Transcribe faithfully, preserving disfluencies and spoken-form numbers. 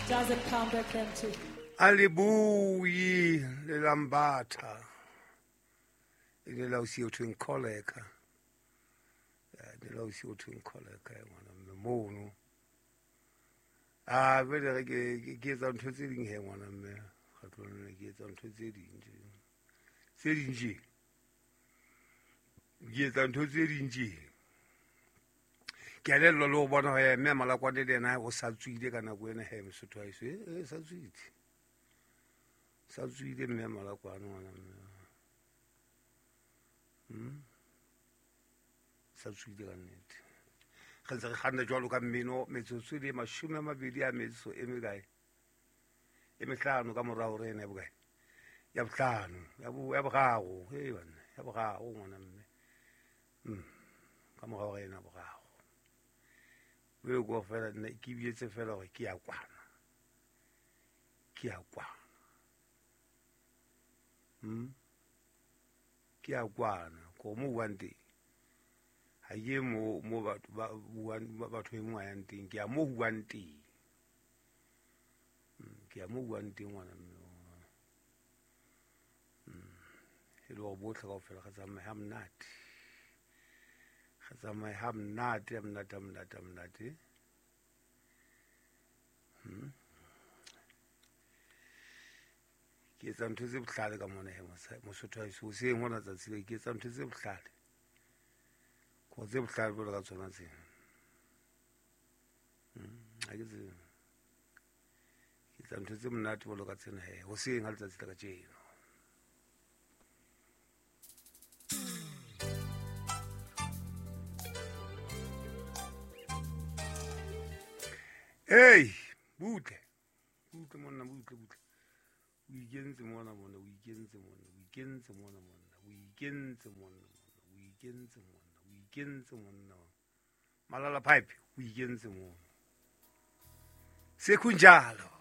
Doesn't come back empty. Alibuyi lelambatha ile la o siyo thweng kholeka le la o siyo thweng kholeka ngwana mme mono a bele re ke ke etsa ntho tse ding he ngwana mme ga tlone ke etsa ntho tse ding tse ding je ke etsa ntho tse ding je ke a lello le go bona he mme Malakwane le yena o sa tswile ka nako ena he Mosotho wa heso e sa tswile sa tswile mme Malakwane ngwana mme hmm sa tswile ka nnete re ntse re kganna jwalo ka mmino metsotso le mashome a mabedi a metso e mekae e mehlano ka morao re ena ya bokae ya bohlano ya bo ya boraro he banna ya boraro ngwana mme mm ka morao re ena boraro o go fela nna ke bietse fela gore ke ya kwana ke ya kwana mm ke ya kwana ko mo buang teng ha ke mo mo batho ba buang batho e mongwe a yang teng ke ya mo buang teng ke ya mo buang teng ngwana mme e le gore botlhe kaofela re tsamaye ha monate re tsamaye ha monate ha monate ha monate ha monate ke etsa ntho tse bohlale ka mona he Mosotho wa heso hoseng hona tsatsi le ke etsa ntho tse bohlale ko tse bohlale jwalo ka tsona tsena ha ke tsebe ke etsa ntho tse monate jwalo ka tsena he hoseng ha letsatsi la kajeno. Hey, butle butle monna butle butle o ikentse mona mona o ikentse mona o ikentse mona mona o ikentse mona mona o ikentse mona o ikentse monna Malala Pipe o ikentse mona sekunjalo.